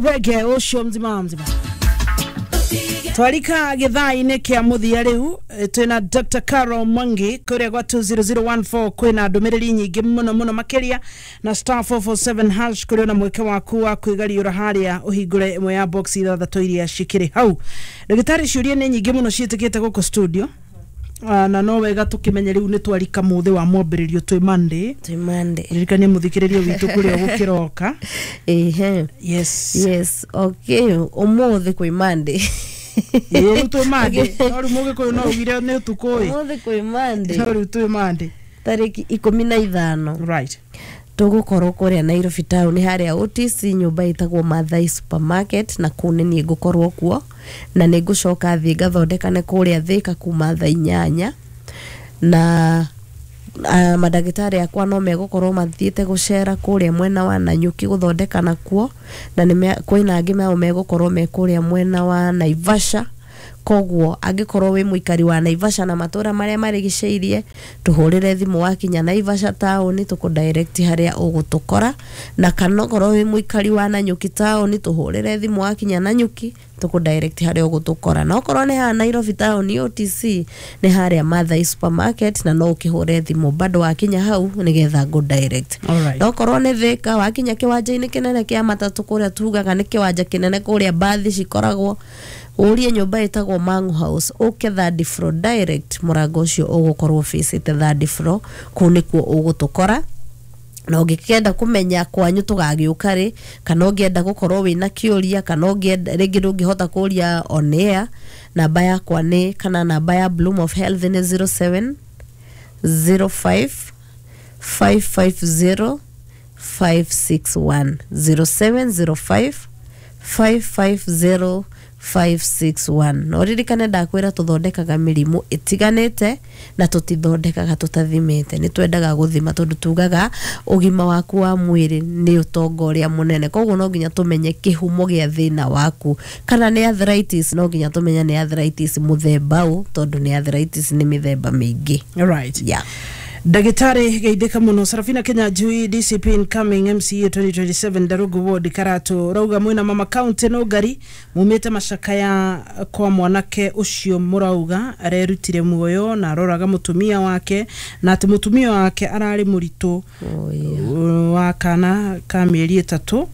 Reggae ucio mzima mzima twarika githaa-inĩ kĩa mũthia rĩu, twĩna Dr. Carol Mwangi kũrĩa gwa 20014. Kwĩna ndũmĩrĩri nyingĩ mũno mũno makĩria na star 447 hash kũrĩ ona mweke waku wa kwĩgariũra harĩa ũhingũre ĩmwe ya box ithathatũ iria cikĩrĩ hau. Ndagĩtarĩ, ciũria nĩ nyingĩ mũno ciĩtĩkĩte gũkũ studio. Na no wega tũkĩmenye rĩu nĩ twarika mũthĩ wa mwambĩrĩrio, twĩ Monday. Twĩ Monday. Ririkanie mũthikĩrĩrio witũ kũrĩa gũkĩroka. Ehe. Yes. Yes, okay, ũmũthĩ kwĩ Monday. Ĩĩ, rĩu twĩ Monday, no rĩu mũgĩkũyũ no ugire nĩ ũtukũ ĩ. Ũmũthĩ kwĩ Monday. No rĩu twĩ Monday. Tarĩki 15. Tũgũkorwo kũrĩa Nairobi town, harĩa OTC, nyũmba ĩtagwo Mathai Supermarket, na kũu nĩ niĩ ngũkorwo kuo, na nĩ ngũcoka thiĩ ngathondekane kũrĩa Thĩka kuma thaa 8, na mandagĩtarĩ akwa no megũkorwo mathiĩte gũcera kũrĩa mwena wa Nanyuki gũthondekana kuo, na nĩ kwĩna angĩ nao megũkorwo me kũrĩa mwena wa Naivasha. Koguo angĩkorwo wĩ mũikari wa Naivasha na matũra marĩa marigicĩirie, tũhũrĩre thimũ wakinya Naivasha taũni, tũkũ direct harĩa ũgũtũkora, na kana okorwo wĩ mũikari wa Nanyuki taũni, tũhũrĩre thimũ wakinya Nanyuki, tũkũ direct harĩa ũgũtũkora, na okorwo nĩ haha Nairobi taũni OTC, nĩ harĩa Mathai Supermarket, na no ũkĩhũre thimũ bado wakinya hau nĩgetha ngũ direct. Na okorwo nĩ Thĩka, wakinya kĩwanja-inĩ kĩnene kĩa matatũ, kũrĩa tugaga nĩ kĩwanja kĩnene kũrĩa mbathi cikoragwo, ũrie nyũmba ĩtagwo Mangu House, ũke third floor direct, mũrango ũcio ũgũkorwo facĩte third floor, kũu nĩkuo ũgũtũkora. Na ũngĩkenda kũmenya kwanyu tũgagĩũka rĩ, kana ũngĩenda gũkorwo wĩna kĩũria, kana ũngĩenda rĩngĩ ndũngĩhota kũria on air, namba yakwa nĩ, kana namba ya Bloom of Health nĩ 07 05 550 561, 0705 550 561. Na ũririkane ndakwĩra tũthondekaga mĩrimũ ĩtiganĩte, na tũtithondekaga tũtathimĩte. Nĩ twendaga gũthima tondũ tugaga ũgima waku wa mwĩrĩ nĩ ũtonga ũrĩa mũnene. Koguo no nginya tũmenye kĩhumo gĩa thĩna waku. Kana nĩ arthritis, no nginya tũmenye nĩ arthritis mũthemba ũ, tondũ nĩ arthritis nĩ mĩthemba mĩingĩ. Alright. Ndagĩtarĩ, geithĩka mũno. Sarafina Kenya Njui, DCP incoming MCA 2027 Darugu Ward Karatu, rauga mwĩna mama county no ngari mumĩte macakaya kwa mwanake ũcio mũrauga arerutire muoyo na aroraga mũtumia wake, na atĩ mũtumia wake ararĩ mũritũ Oh, yeah. wa kana ka mĩeri 3,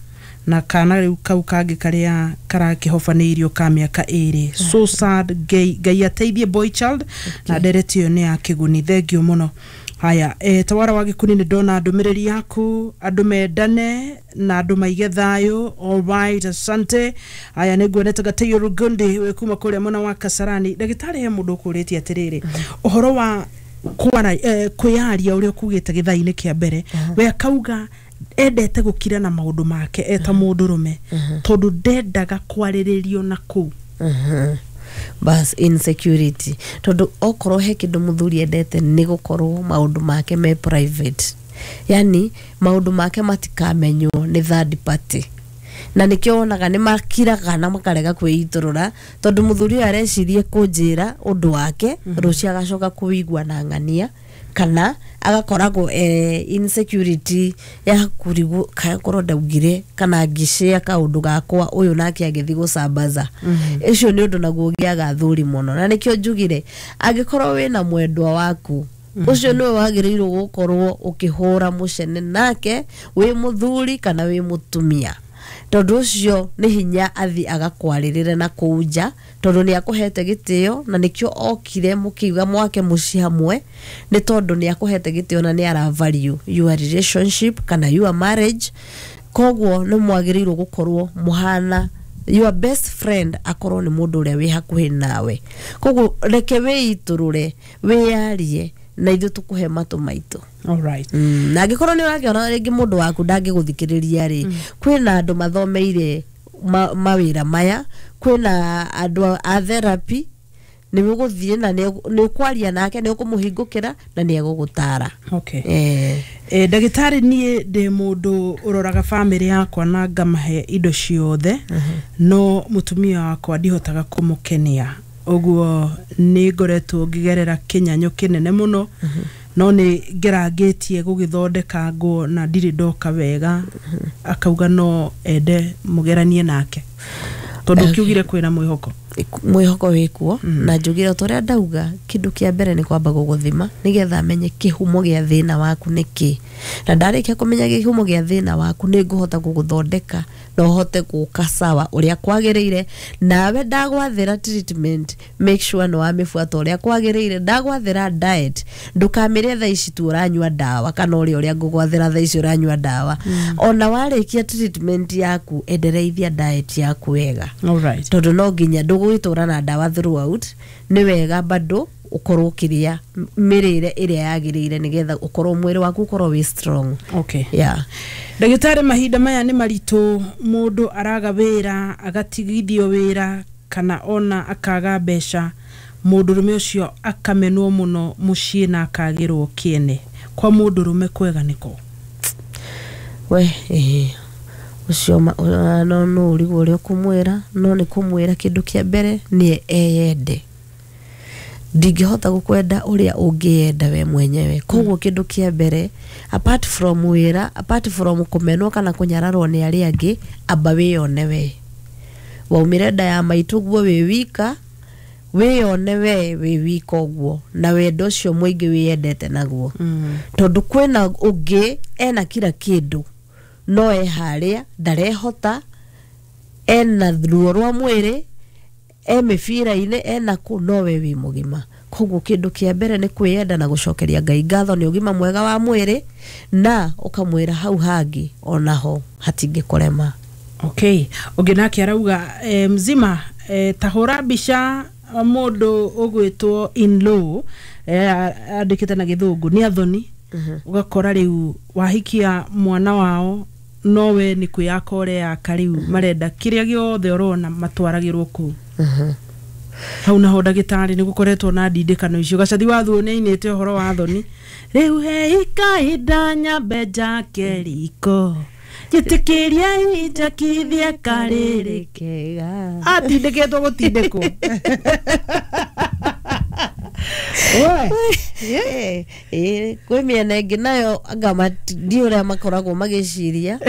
na kana rĩu kau kangĩ karĩa karakĩhobanĩirio ka mĩaka 2. So sad. Ngai, Ngai ateithie boy child. Na ndereti ĩyo nĩ ya kĩguni, thengio mũno. Haya, tawara wa gĩkuni, nĩ ndona ndũmĩrĩri yaku, andũ mendane na andũ maige thayũ. Alright, asante. Haya, nĩ nguonete Gatĩio Rugundi wĩ kuma kũrĩa mwena wa Kasarani. Ndagĩtarĩ, he mũndũ ũkũrĩtie atĩrĩrĩ, ũhoro wa kwara, kwĩyaria ũrĩa ũkugĩte gĩthaa-inĩ kĩa mbere, we akauga endete gũkira na maũndũ make eta mũndũrũme tondũ ndendaga kwarĩrĩrio na kũu. Bas, insecurity, tondũ okorwo he kĩndũ mũthuri endete nĩ gũkorwo maũndũ make me private, yani maũndũ make matikamenywo nĩ third party, na nĩkĩo wonaga nĩ makiraga na makarega kwĩitũrũra, tondũ mũthuri ũyũ arecirie kũnjĩra ũndũ wake, rũciũ agacoka kũwĩigua na ng'ania, kana agakoragwo insecurity ya kurigwo kana korwo ndaugire kana ngĩshare kaũndũ gakwa, ũyũ nake agĩthiĩ gũcambaza. Ũcio nĩ ũndũ naguo ũgĩaga athuri mũno, na nĩkĩo njugire angĩkorwo wĩna mwendwa waku, ũcio nĩwe wagĩrĩirwo gũkorwo ũkĩhũra mũcene nake, wĩ mũthuri kana wĩ mũtumia, tondũ ũcio nĩ hinya athi agakwarĩrĩre na kũu nja, tondũ nĩ akũhete gĩtĩo, na nĩkĩo okire mũkiuga mwake mũciĩ hamwe, nĩ tondũ nĩ akũhete gĩtĩo na nĩ ara value your relationship kana your marriage. Koguo nĩ mwagĩrĩirwo gũkorwo mũhana your best friend akorwo nĩ mũndũ ũrĩa wĩ hakuhĩ nawe. Koguo reke wĩitũrũre, wĩyarie, na ithuĩ tũkũhe matũ maitũ. Na angĩkorwo nĩ ũrakĩona rĩngĩ mũndũ waku ndangĩgũthikĩrĩria rĩ, kwĩna andũ mathomeire mawĩra maya, kwĩna andũ a therapy, nĩ ũgũthiĩ na nĩ ũkwaria nake, nĩ ũkũmũhingũkĩra na nĩ egũgũtara. Ndagĩtarĩ, niĩ ndĩ mũndũ ũroraga bamĩrĩ yakwa na ngamahe indo ciothe, no mũtumia wakwa ndihotaga kũmũkenia, ũguo nĩ ngoretwo ngĩgerera kĩnyanyo kĩnene mũno. No nĩ ngerangĩtie gũgĩthondeka nguo na ndirĩ ndoka wega. Akauga no ende mũgeranie nake tondũ kiugire kwĩna mwĩhoko. Mwĩhoko wĩkuo. Na njugire o ta ũrĩa ndauga, kĩndũ kĩa mbere nĩ kwamba gũgũthima nĩgetha menye kĩhumo gĩa thĩna waku nĩ kĩ, na ndarĩkia kũmenya kĩhumo gĩa thĩna waku nĩ ngũhota gũgũthondeka na ũhote gũka sawa ũrĩa kwagĩrĩire. Nawe ndagwathĩra treatment, make sure nĩ wamĩbuata ũrĩa kwagĩrĩire. Ndagwathĩra diet, ndũkamĩrĩe thaa ici tu ũranyua ndawa, kana ũrĩa ũrĩa ngũgwathĩra thaa ici ũranyua ndawa. Ona warĩkia treatment yaku, endereithia diet yaku wega. Alright. Tondũ no nginya ndũgũgĩtũra na ndawa throughout, nĩ wega bado ũkorwo ũkĩrĩa mĩrĩre ĩrĩa yagĩrĩire nĩgetha ũkorwo mwĩrĩ waku ũkorwo wĩ strong. Okay. Yeah. Ndagĩtarĩ, mahinda maya nĩ maritũ, mũndũ araga wĩra, agatigithio wĩra, kana ona akaga mbeca, mũndũrũme ũcio akamenwo mũno mũciĩ na akagĩrwo kĩene. Kwa mũndũrũme kwega nĩkũ? We ĩĩ, ũcio no no ũrigwo ũrĩa ũkũmwĩra, no nĩ kũmwĩra kĩndũ kĩa mbere nĩ eyende. Ndingĩhota gũkwenda ũrĩa ũngĩyenda we mwenyewe. Koguo kĩndũ kĩa mbere, apart from wĩra, apart from kũmenwo kana kũnyararwo nĩ arĩa angĩ, amba wĩyone we. Waumire nda ya maitũ guo wĩ wika, wĩyone we wĩ wika ũguo na wendo ũcio mũingĩ wĩyendete naguo. Tondũ kwĩna ũngĩ ena kila kĩndũ no e harĩa ndarehota, ena ruo rwa mwĩrĩ, e mĩbira-inĩ, ena kũ, no we wĩ mũgima. Koguo kĩndũ kĩa mbere nĩ kwĩyenda na gũcokeria Ngai ngatho nĩ ũgima mwega wa mwĩrĩ, na ũkamwĩra hau hangĩ onaho hatingĩkũrema. Okay, ũngĩ nake arauga mzima, ta hũra mbica mũndũ ũgwĩtwo in law, andĩkĩte na gĩthũngũ nĩ athoni. Ũgakora rĩu wahikia mwana wao, nowe nĩ kwĩyaka ũreyaka, rĩu marenda kĩrĩa gĩothe ũrona matwaragĩrwo kũu. Hau naho ndagĩtarĩ nĩ gũkoretwo na ndindĩkano icio. Gacathi wa thuo nĩ ainĩte ũhoro wa thoni, rĩu heikahinda nyambe njake riko, njĩtĩkĩrie njakithie karĩrĩ kega. Atindĩkĩtwo gũtindĩkwo. We. Kwĩ mĩena ĩngĩ nayo anga ndi ũrĩa makoragwo magĩciria,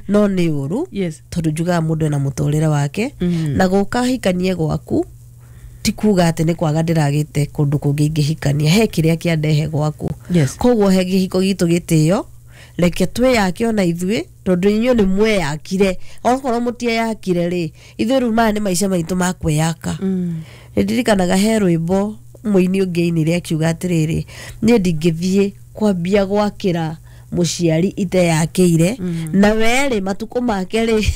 no nĩ ũru. Tondũ njugaga mũndũ ena mũtũrĩre wake, na gũka hikanie gwaku ti kuga atĩ nĩ kwaga ndĩragĩte kũndũ kũngĩ ingĩhikania, he kĩrĩa kĩandehe gwaku. Koguo he kĩhiko gitũ gĩtĩo, reke twĩyake ona ithuĩ, tondũ inyuĩ nĩ mweyakire. Okorwo mũtieyakire rĩ, ithuĩ rĩu maya nĩ maica maitũ ma kwĩyaka. Nĩ ndirikanaga he rwĩmbo mũini ũngĩ ainire akiuga atĩrĩrĩ, niĩ ndingĩthiĩ kwambia gwakĩra mũciari iteyakĩire, na werĩ matukũ make rĩ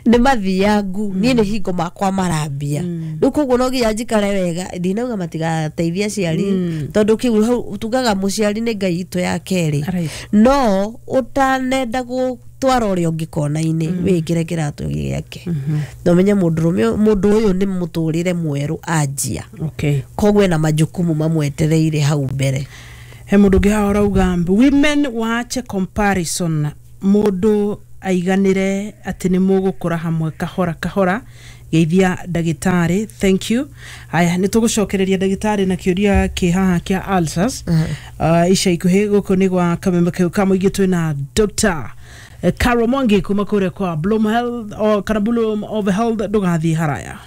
nĩ mathiangu, niĩ nĩ hingo makwa marambia. Rĩu koguo no nginya njikare wega. Ndinauga matigateithia aciari, tondũ kĩu hau tugaga mũciari nĩ Ngai itũ ya kerĩ. No ũtanenda gũtwara ũrĩa ũngĩ kona-inĩ, wĩkĩre kĩratũ gĩake na ũmenye mũndũrũme, mũndũ ũyũ nĩ mũtũrĩre mwerũ anjia. Koguo ena majukumu mamwetereire hau mbere. He mũndũ ũngĩ haha ũrauga women waache comparison, mũndũ aiganĩre atĩ nĩ mũgũkũra hamwe kahora kahora. Geithia ndagĩtarĩ, thank you. Aya, nĩ tũgũcokereria ndagĩtarĩ na kĩũria kĩ haha kĩa ulcers ica ikuhĩ. Gũkũ nĩ gwa kameme kau ka mũingĩ, twĩna Dr. Carol Mwangi kuma kũrĩa kwa Bloom Health o kana Bloom of Health. Ndũgathiĩ haraya.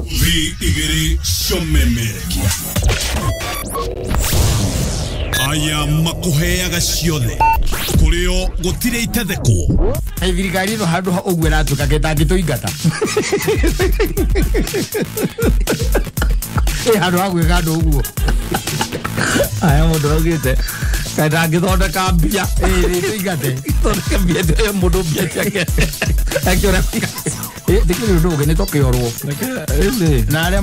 Thi igĩrĩ ciomemerekia aya makũheaga ciothe, kũrĩo gũtirĩ itethekwo. Hey, thirikari ĩno handũ ha ũguo ĩratuĩka ketangĩtũingata ĩ handũ ha gwĩka andũ ũguo. Aya mũndũ augĩte kaĩ ndangĩthondeka mbia. Ĩ tũingate. Thondeke mbia ĩyo mũndũ mbia ciake akĩũra. Ndĩkĩrĩ ũndũ ũngĩ nĩ tũkĩorwo rĩu rĩ na arĩa